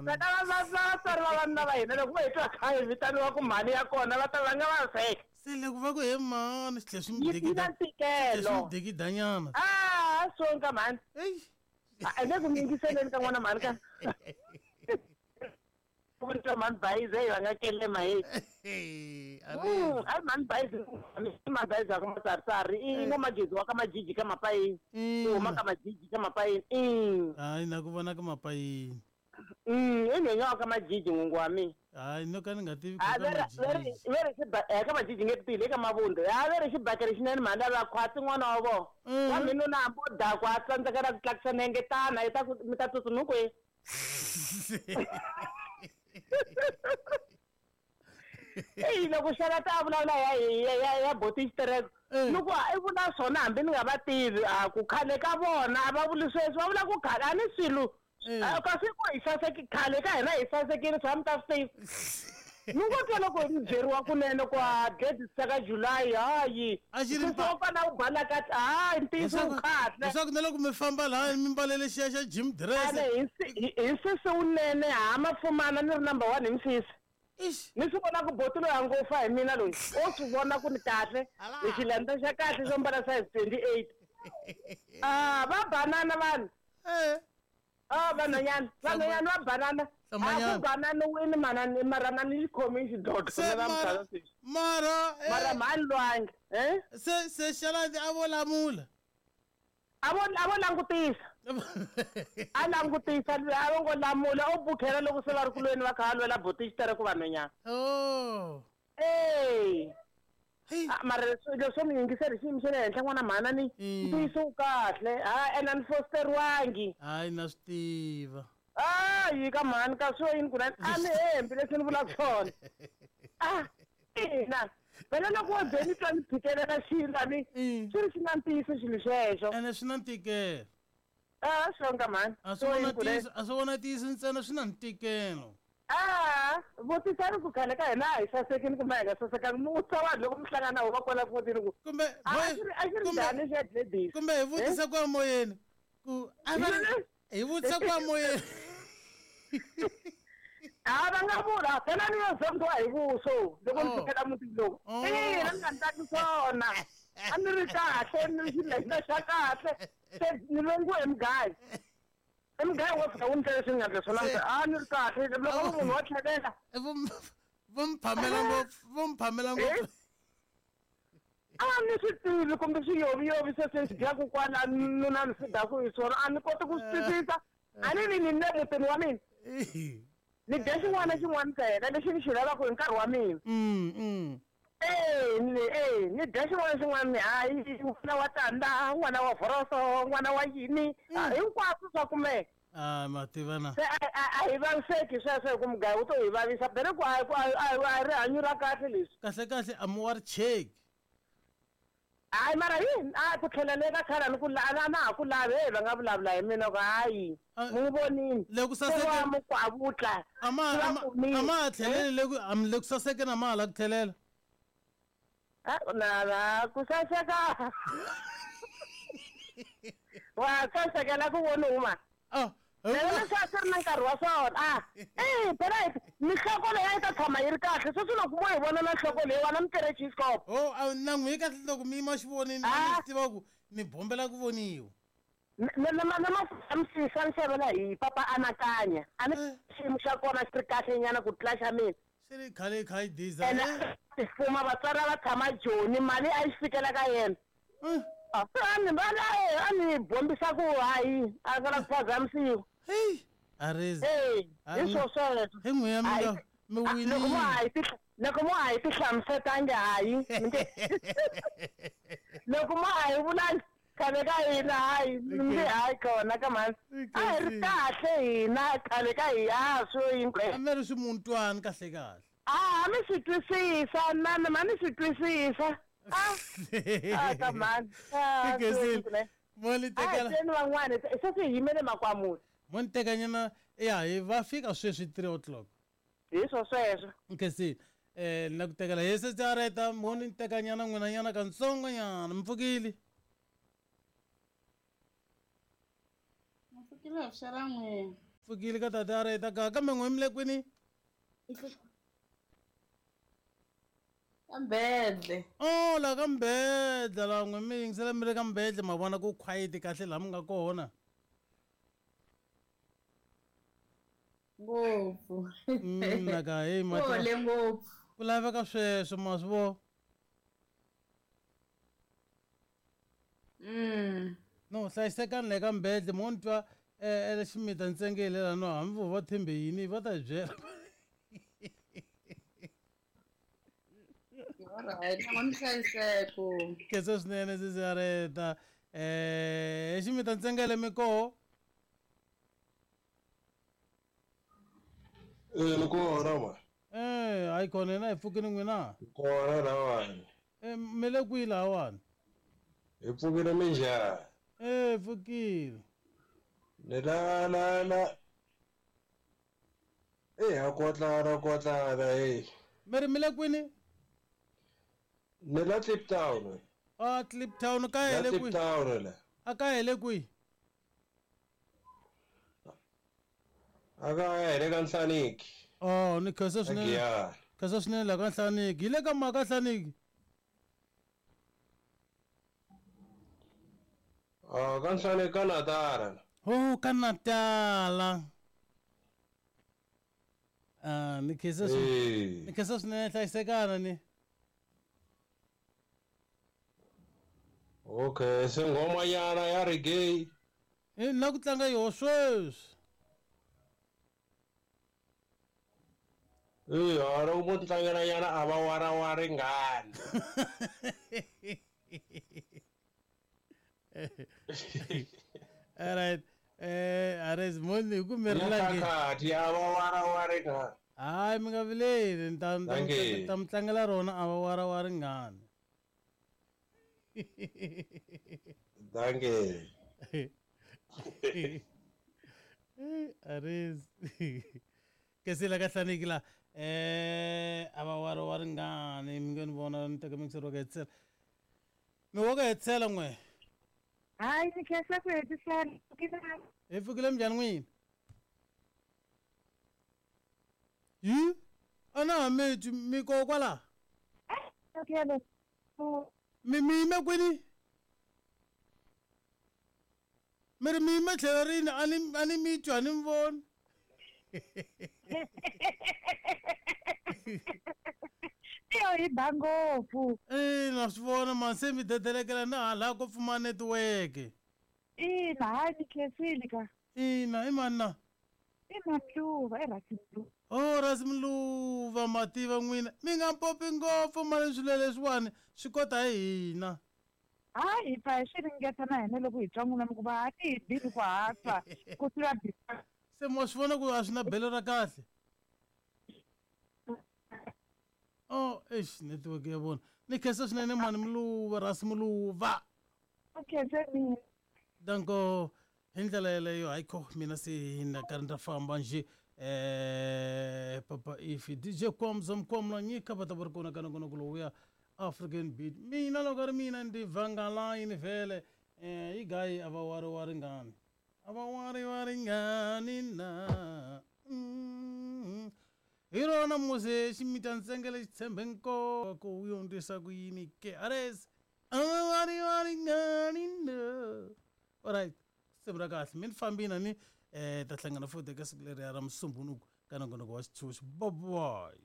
Va vatswari va vanuna va hina loko va hi twa kha hi vitaniwa ku mhani ya kona va ta va nga vaviseka. Se loko va ku he mhani swi tlhe swi mi Yi na dikida ntikelo. swi mi dikidanyana. Ah, swonka mhani. Eyi. A le ku mi yingiseleni ka n'wana mhani ka. Ku twa mhani bayize va nga kelema hey. A ri A mhani bayize mhani bayize ka matsaritsari i n'wamagezi wa ka majiji ka mapayini. I huma ka majiji ka mapayini. Hayi na ku vona ka mapayini. I nhwenya wa ka majiji n'wingi wa mina. Hayi no ka ni nga tivi ku A ka ve majiji. ri ka majiji nge tile ka mavundu. A ve ri xibakele xinene mhani lava khwatsi n'wana wa vona. Wa mina na hambi o dakwa a tsandzeka na ku tlakusa nenge tana i ta ku mi ta tsutsuma kwihi. Eyi loko xana ta vulavula ya boti xitereko ni ku i vula swona hambi ni nga va tivi a ku khale ka vona a va vuli sweswi va vula ku khale a ni swilo kasi ku hi saseki khale ka hina hi sasekile swa mi ta swi tiva ni ngo twa loko ni byeriwa kunene ku a gledisa ka July hayi A xi ri wa kona u balaka hayi ntiyiso wu kahle leswaku na loko mi famba laha mi mbalele xiya xa gym dress ene hi sisi wunene ha mafumana ni ri number 1 hi misisi. Ixi. Ni swi vona ku boti loyi a ngo fa hi mina loyi o swi vona ku ni kahle ni xilanda xa kahle xo mbala size 28. Ah, va banana vanhu. Ah, vanhwanyana vanhwanyana va banana. A Hlamanyana. ku banana wini manani mara na ni xikhomi xidlodlo Se na va mara muganga sweswi. mara Mara mhani lwangi se se xaladi a vo lamula. A vo langutisa. A langutisa a vo ngo lamula o bukhela loko se va ri kulweni va kha va lwela boti xitereko vanhwanyana. Oh. Ey. Mara leswo mi yingiseri xiyimo xa le henhla n'wana mhana ni ntiyiso wu kahle ha ene a ni fosteriwangi. Hayi na swi tiva. Hayi ka mhani ka swo yini kunene a ni hembi leswi ni vulaka swona. Ah, ina phela loko wo ze ni twa ni phikelela xilo a ni swi ri xi na ntiyiso xilo xexo. Ene swi na ntikelo. Ah, swonga mhani. A swi vona ntiyiso a swi vona ntiyiso ntsena swi na ntikelo. Ah, vutisani ku khale ka hina a hi sasekini kumbe a hi nga sasekangi mi vutisa vanhu loko mi hlangana na vona kwala fotini ku kumbe a xi ri njhani xa Gladys? Kumbe hi vutisa kwa moyeni ku a va hi vutisa kwa moyeni. A va nga vula phela ni yo zondiwa hi vuso loko ni fikela mutini lowu. Ina ni nga ni taki swona. A ni ri kahle ni ri xilenda xa kahle se ni longiwe hi mugayo. I mugayo wo fika wu ni ndlela leswi ni nga ndla swona a ni ri kahle loko munhu wa tlhelela. Vo mi phamela ngopfu vo mi phamela ngopfu. A ni swi tivi kumbe swiyoviyovi sweswi ni swi dyaku kwala nuna ni swi dyaku hi swona a ni koti ku swi twisisa. A ni ni le mutini wa mina. Ni dya xin'wana na xin'wana ntsena lexi ni xi lavaka hi nkarhi wa mina. Ni dya xin'wana na xin'wana hayi n'wana wa tanda n'wana wa vhoroso n'wana wa yini hinkwaswo swa kumeka. Ah, ma tiva na. Se a hi vaviseki sweswo hi ku mugayo wu to hi vavisa phela ku a rihanyo ra kahle leswi. Kahle kahle a mi wa ri cheki. Hayi mara yini a ku tlhela le ka khale ni ku a na ha ku lavi hey va nga vulavula hi mina ku hayi mi n'wi vonini. Le ku saseke Se wa mukwavutla. A ma a ma ha tlheleli le ku a mi le ku saseke na ma ha la ku tlhelela. Na na ku saseka. Wa sasekela ku voni huma. Ah. Phela leswi a swi ri na nkarhi wa swona. Ah, phela mihloko leyi a yi ta tshama yi ri kahle sweswi loko mo hi vona na nhloko leyiwani a mi tirhe chiskop. Oh, a na n'wi kahle loko mi yima xivonini mi swi tiva ku mi bombela ku voniwa. Na mafambisisa ni xavela hi papa anakanya. A ni xiyimo xa kona xi ri kahle nyana ku tlula xa mina. Swi ri khale kha yi diza. Ene tifuma vatswari a va tshama Joni mali a yi fikela ka yena. A ni va a ni bombisa ku hayi a nga la ku phazamisiwa. Hey, Arezi. Hey, hi swo sweswo. Hi n'wi ya mi mi winile. Loko mo ha hi loko mo ha hi tihlamusetangi hayi. Loko mo ha hi vulangi khale ka hina hayi mi nge hayi kona ka mhani. A hi ri kahle hina khale ka hina swo yini. A mi ri swimuntwani kahle kahle. Ah, mi swi twisisa na ma ni swi twisisa. Ah, ah ka mhani. Ah, Mo ni tekela. A van'wana se swi yimele makwamula. Mo ni tekanyana ya hi va fika sweswi 3 o'clock. Hi swo sweswo. Nkhensi na ku tekela hi se tsareta mo ni tekanyana n'wina nyana katsongo nyana mi pfukile. Pfukile vuxela n'wina. Pfukile ka tata Areta ka kambe n'we mi le kwini? Ka Mbedle. Oh, la ka Mbedle la n'we mi yingisela mi ri ka Mbedle ma vona ku quiet kahle laha mi nga kona. Ngopfu. Naka hey ma Kole ngopfu. Ku laveka sweswo ma swi vo. No hlayisekani le ka Mbedle mo ni twa eh ximita ntsengele la no hambi vo va thembe yini va ta hi byela. Alright, na n'wi hlayiseko. Khensa swinene sisi Areta. Ximita ntsengele mi koho? Ni kona ma. Hayi khona hina hi pfukile n'wina. Kona lawani. Mi le kwihi lahawani? Hi pfukile minjhani? Pfukile. Ni la la la. Ha kotlana kotlana hey. Mi ri mi le kwini? Ni la Kliptown. Ah, Kliptown ka hele kwihi? Kliptown la. A ka hele kwihi? A ka hele ka Nhlaniki. Oh, ni khensa swinene. Khensa swinene la ka Nhlaniki. Hi le ka mhaka Nhlaniki? Ah, ka Nhlaniki ka Natala. Oh, ka Natala. Ah, ni khensa swinene. Ni khensa swinene hlayisekana ni. Okay, se nghoma nyana ya reggae. Na ku tlanga yoho sweswi. Loko mo tlangela nyana a va warawari ngani. All right. Ares moni hi ku mi ri langi. A va warawari ngani. Hayi mi nga vileli ni ta ta mi tlangela rona a va warawari ngani. Dankie. Ares. Kesila ka Nhlaniki la. A va warawari ngani mi nge ni vona ni teka mixer wa ka hetisela. Mi wa ka hetisela n'we. Hayi ni khensa ku hetisela. Hi pfukile minjhani n'wina? Yi? A na ha mi twi mi koho kwala? Mi mi yime kwini? Mi ri mi yime tlhelo rini a ni mi twi a ni mi voni. Tiyo yi ba ngopfu. Na swi vona mani se mi dedelekela na hala ko pfumala network. Ina, hayi ni khensile ka. Ina, i mani na? I Mamluva, i Rasimluva. Oh, Rasimluva ma tiva n'wina. Mi nga mpopi ngopfu mali swilo leswiwani swi kota hi hina. Hayi hi pfa hi swi ringeta na hina loko hi twa n'wina mi ku va a ti hi bini ku hatla ku tlula Se mo swi vona ku a swi na belo ra kahle. Oh, eish network ya vona. Ni khensa swinene mani Mluva, Rasimluva. U khense mina. Danko hi ndlela yeleyo hayikho mina se na karhi ndza famba nje papa ifi DJ Kwamza Mkwamla nyika va ta va ri kona ka nongonoko lowuya African Beat. Mina loko ri mina ndi vangalayini vhele yi gayi a va wariwari ngani. A va wariwari ngani na. Hi rona musi ximita ntsengele xi tshembe nkoka ku wu yondzisa ku yini ke ares a va wariwari ngani na. All right. Siku ra kahle mi ni fambini ni ta hlangana futhi eka siku leriya ra Musumbunuku ka nongonoko wa xitshunxo. Bye bye.